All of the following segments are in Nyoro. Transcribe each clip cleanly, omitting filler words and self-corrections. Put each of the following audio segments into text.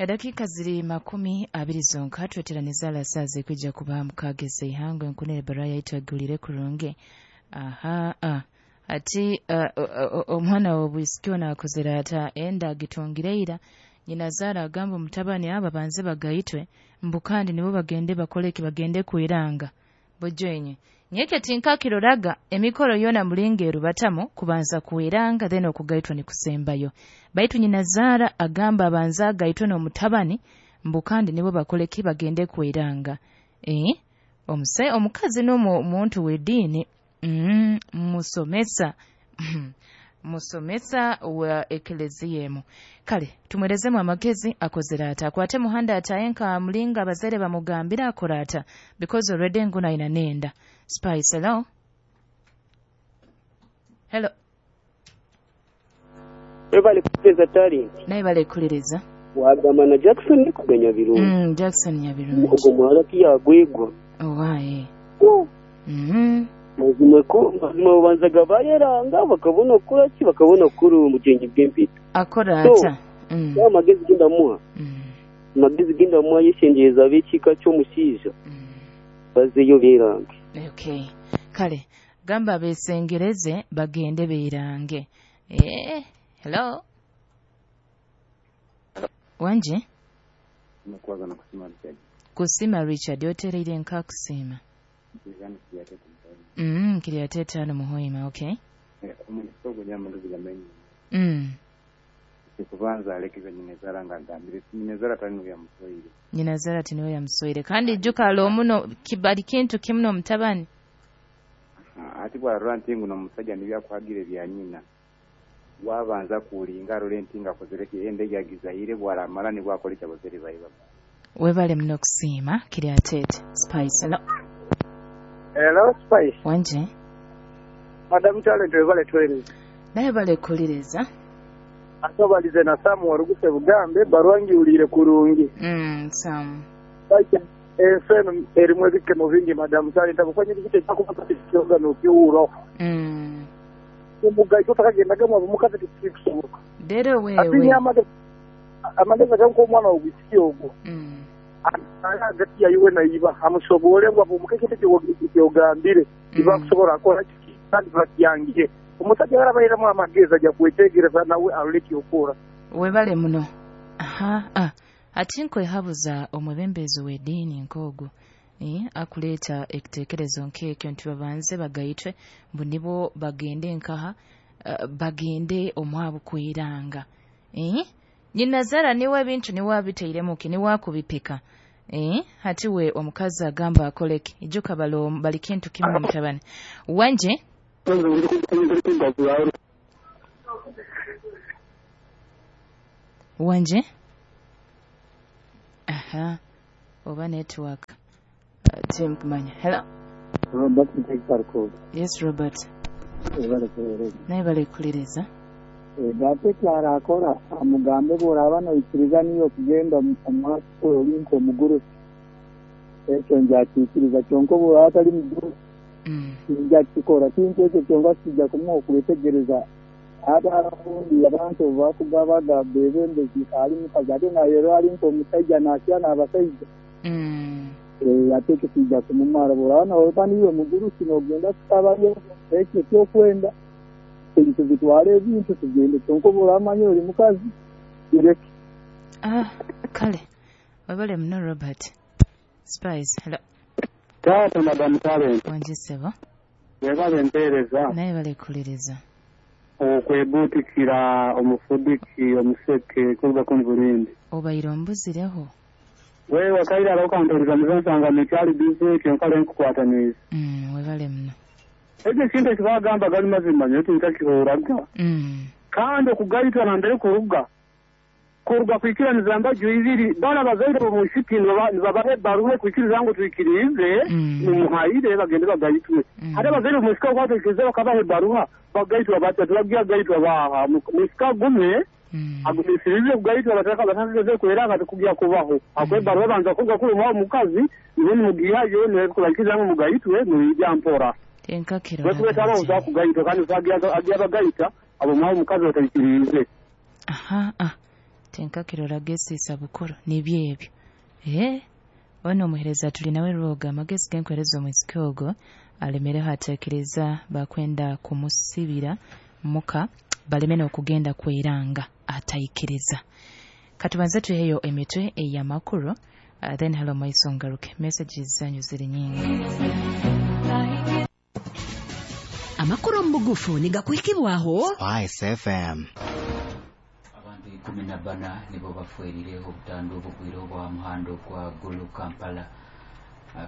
Edakika ziri 20 zonka tweteraniza alasaze kwijja kuba mukageze ihangwe nkunere baraya itwagulire kurunge. Aha ati omwana w'obwisiki nakozera ata enda agitungireira nyina zara agamba omutabani aba banze bagayitwe mbu kandi nibo bagende bakoleki bagende kwiranga bujenye nyeke tinkakiroraga emikoro yona mulinga erubatamu kubanza kuiranga then okugaitwa ni kusembayo baitu nyina zara agamba abanza agaitwe n'omutabani mbu kandi nibo bakoleki bagende kuiranga omukazi n'omuntu w'ediini musomesa musomesa wa eklezia. Kale tumwerezemu amagezi akozera ata akwate muhanda atayenka mulinga abazere bamugambira akora ata because already nguna ina nenda. Spice, hello. Hello. Ebale kuliriza talent. Naye bale kuliriza. Wagamba na Jackson kuganya birungi. Jackson Nyabirungi. Ogwo muwala kiyagwegwa. Owaye. Mazima ko mazima babanzaga bayeranga bakabona okukora ki bakabona kukora omugenyi bw'empita akora ata amagezi gendamuha amagezi gendamuha yeshengereza ab'ekika ky'omushaija bazeyo beerange. Okay, kale gamba besengereze bagende beerange. Hello wanje kusima Richard otereire nka kusima Kiriatete ano muhoima, okay. Kubanza alekeza nyinazara ngagambire nyinazara tani ya muswahili. Nyinazara tani ya muswahili. Kandi juka lo muno kibali kintu kimuno mtabani. Ati bwa rantingu na musajja nibya kuhagire bya nyina. Wabanza kulinga rolentinga kozereke ende yagizaire bwaramara ni bwakoleka bozeri bayiba. Webale muno kusima Kiriatete. Spice. Hello. Hello, Spice. Wanje. Madam Talent webale tweleze. Naye bale kuliriza. Asobalize na Samu waruguse bugambe barwangi ulire kurungi. Samu. Spice enseno erimwe bikemo vingi Madam Talent abufanye bikite cyakufata kiyoga no kiuro. Umugayo takagendaga mu mukazi kikusoboka. Dero wewe. Amageza ganko omwana ogwisi ogwo. Hagati ya iwe na iba amusobole ngo abumukeke kyogambire iba kusobola akola kiki kandi bakyangiye omusajja yarabayiramu amagezi ajja kwetegereza nawe aleke okora. Webale muno. Aha ati nkwehabuza omwebembezi w'eddiini nk'ogwo akuleeta ekiteekerezo nk'ekyo nti babanze bagayitwe mbu nibo bagende nkaha bagende omwabu kwiranga. Nyina zara niwe ebintu niwe abiteiremuki niwe akubipika. Hati we omukazi agamba akoleki ijuka bali kintu kimwe mutabani wanje. Wanje. Aha oba network timkumanya. Hello Robert. Yes Robert. Naye bale kuliriza. Date akora amugambe boraba noikiriza niyo kugenda omwaka olinko omugurusi ekyo njakikiriza kyonka boraba atali mugurusi njakikora kintu ekyo kyonka kijja kumuha okwetegereza abarundi abantu bakugabaga bebembezi ali mukazi ate naye ali nk'omusajja nakya n'abasajja ate ekyo kijja kumumara boraba noba niwe mugurusi nogenda kusabayo ekyo kyokwenda tuzitwale ebintu tugende kyonka oburamanya oli mukazi bireke. Kale webale muno Robert. Spice. Hello. Taata Madam Talent. Wanje sebo. Webale mpeereza. Naye bale kuliriza. Okwebuutikira omufudiki omuseke kuruga kumburindi. Obaire ombuzireho. Wewe wakaira arokantoriza muzonsanga nekyali bize kyonka lenkukwataniza. Webale muno. Ekyo kintu ekibagamba gali mazima nyo tinkakihoraga. Kandi okugayitwa nambere kuruga kwikiraniza mbaju ibiri bana bazaire omushiki nibabahe baruhe kwikiriza ngo twikirize mumuhaire bagende bagayitwe. Hata abazaire omushiki okwatwikirize bakabahe baruha bagayitwa batya turagiya gayitwa baha mushika gume agumisirize kugayitwa bataka batakaze kwera katukujya kubaho akwe baruha banza kuga kuruma omukazi nibo mugiyayo ne kubakiriza ngo mugayitwe muyijya mpora. Tenkakiro. Wekubeta abo uzakugayitwa kandi uzagiya bagayita abo mwaho mukazi batayikirize. Aha Tinkakirora gesiisa bukuru nibyo ebyo. Ono omuhereza tuli nawe rwoga amagezi genkwereza omwisiki ogwo alemereho atekereza bakwenda kumusibira muka baleme n'okugenda kweranga ataikiriza. Katubanze tuheyo emitwe ey'amakuru, then halo maiso ngaruke. Messages zanyu ziri nyingi. Amakuru omu bugufu nigakuhikibwaho Spice FM. Abantu 14 nibo bafwerire obutandu obugwire obwa muhando gwa Gulu Kampala.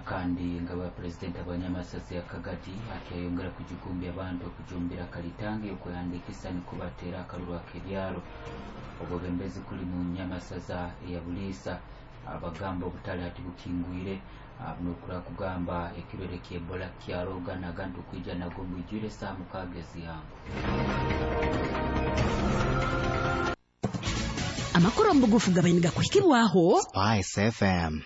Kandi nga ba president abanyamasasi ya Kagati akyayongera kujigumbya abantu okujumbira kalitangi okwehandikisa nikubatera akalulu ak'ebyaro. Obwebembezi kuli mu nyamasaza eya Buliisa abagamba obutale hati bukingwire, nokura kugamba ekirwere kya Ebola kyaroga nagantu kwija nago mwijwire saa 6 ezihango. Amakuru omu bugufu gabaine gakuhikibwaho Spice FM.